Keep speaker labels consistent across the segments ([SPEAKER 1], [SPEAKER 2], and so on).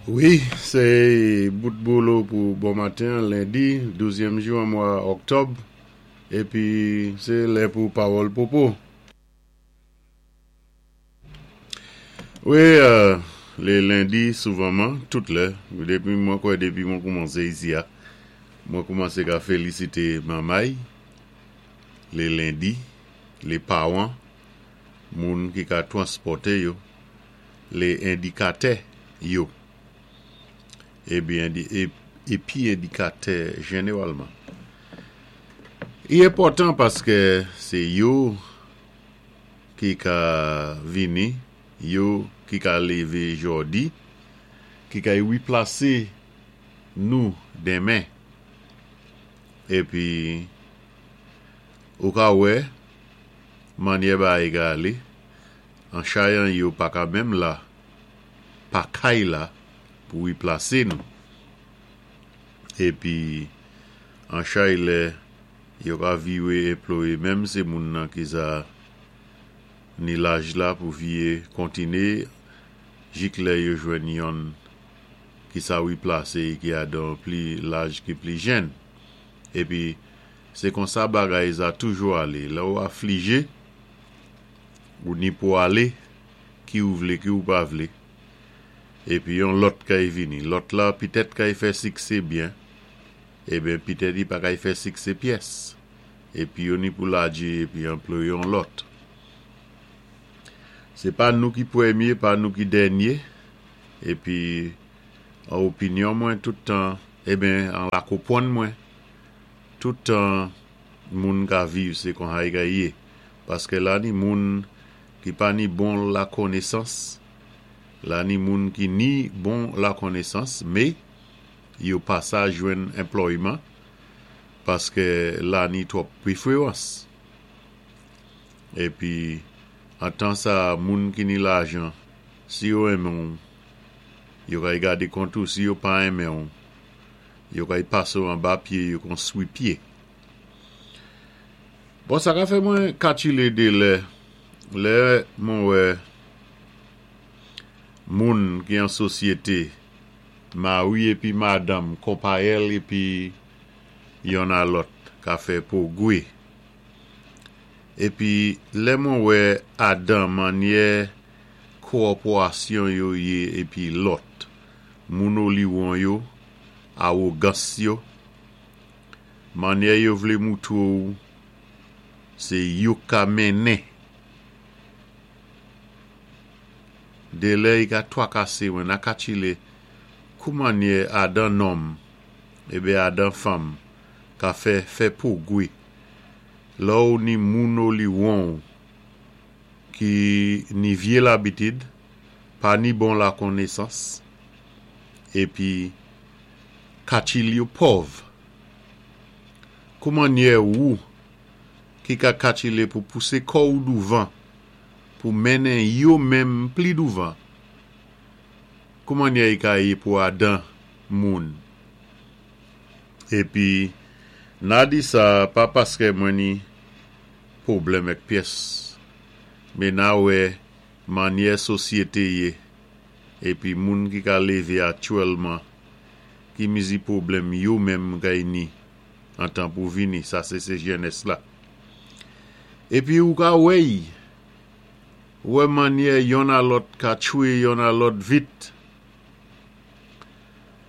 [SPEAKER 1] Wi, sé bout bolo pou bon maten an, lendi, douzyèm jou an mwa oktòb, épi sé lè pou pawòl popo. Wi, lé lendi souvanman, tout lè, depi mwen kwè depi mwen koumansé isi a, mwen koumansé ka félisité manmay, lé lendi, lé pawan, moun ki ka twanspòté yo, lé endikatè yo, epi epi endikatè jeneralman. I enpòtan paskè sé yo ki ka vini, yo ki ka lévé jòdi, ki ka riplasé nou denmen. Epi ou ka wè mannyè bagay ka alé, Anchayan yo pa ka menm la pa kay la pou replase nou. Epi anchay lè yo ka viwe enploye menm se moun nan ki sa ni laj la pou viye kontine jik lè yo jwenn yonn ki sa replase e ki adan pli laj ki pli jenn. Epi se konsa bagay za toujou ale lè ou aflije. Ou ni pou ale, ki ou vle ki ou pa vle. Epi yon lòt kay vini. Lòt la pitèt kay fè siksé byen, eben pitèt i pa kay fè siksé pyès. Epi yo ni pou ladje epi anploye yon lòt. Se pa nou ki premye, pa nou ki dènye. Epi an opinyon mwen tout tan, eben an lakopwann mwen, tout tan moun ka viv se konsa i ka ye. Paskè la ni moun ki pa ni bon lakonesans, la ni moun ki ni bon lakonesans, mé yo pa sa jwenn enplòyman paskè la ni twòp pwéfwérans. Épi an tan sa moun ki ni lajan si yo enmen w yo kay gadé kont ou, si yo pa enmen w yo kay pasé w anba pyé yo kon swi pyé. Bon sa ka fè mwen katile de lè lè mwen wè moun ki an sosyete mari epi madanm konpayèl epi yonn a lòt ka fè pwogwe epi lè mwen wè adan mannyè kowòpwasyon yo ye epi lòt moun oliwon yo awogans yo Mannyè yo vle moutre w se yo k ka mennen. Delè y ka twakase mwen na katchile kou mannyè adan nonm ebe adan fanm ka fè fè pwogwe lò w ni moun oliwon w ki ni vye labitid pa ni bon lakonesans epi Katchil yo pòv. Kou mannyè wou ki ka katchile pou pouse kò ou douvan pou mennen yo menm pli douvan? Kou mannyè i ka ye pou adan moun? Epi, na di sa pa paskè mwen ni pwoblèm èk pyès, me na wè mannyè sosyete ye epi moun ki ka leve aktyèlman ki mizi pwoblèm yo menm kay ni antan pou vini sa se se jènès la epi ou ka wè y wè mannyè yonn a lòt ka tchwe yonn a lòt vit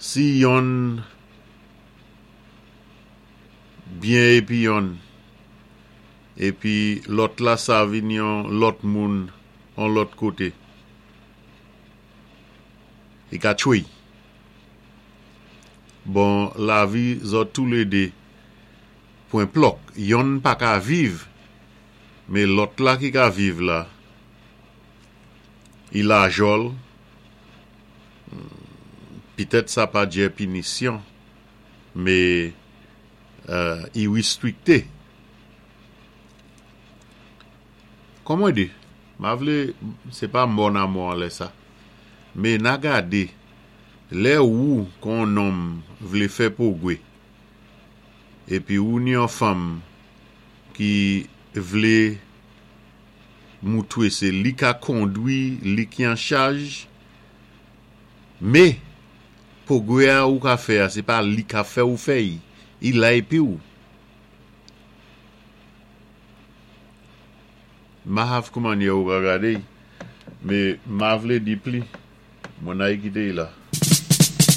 [SPEAKER 1] si yonn byen epi yonn epi lòt la sa vin yon lòt moun on lòt kote. Li ka tchwey. Bon lavi zòt toulede pwen plòk. Yonn pa ka viv, me lòt la ki ka viv la, i lajòl, pitèt sa pa djè pinisyon, me i ristrikte. Kon mwen di, ma vlé, sé pa mò na mò anlè sa. Mé na gadé, lè wou kon on nonm vlé fè pwogwé, épi wou ni on fanm ki vlé moutwé sé li ka kondwi, li ki an chaj, mé. Pwogwè-a ou ka fè-a, sé pa li ka fè ou fè-y. I la épi ou. Ma hav koumannyè ou ka gadé-y, mé ma vlé di pli, mwen ay kité-y la.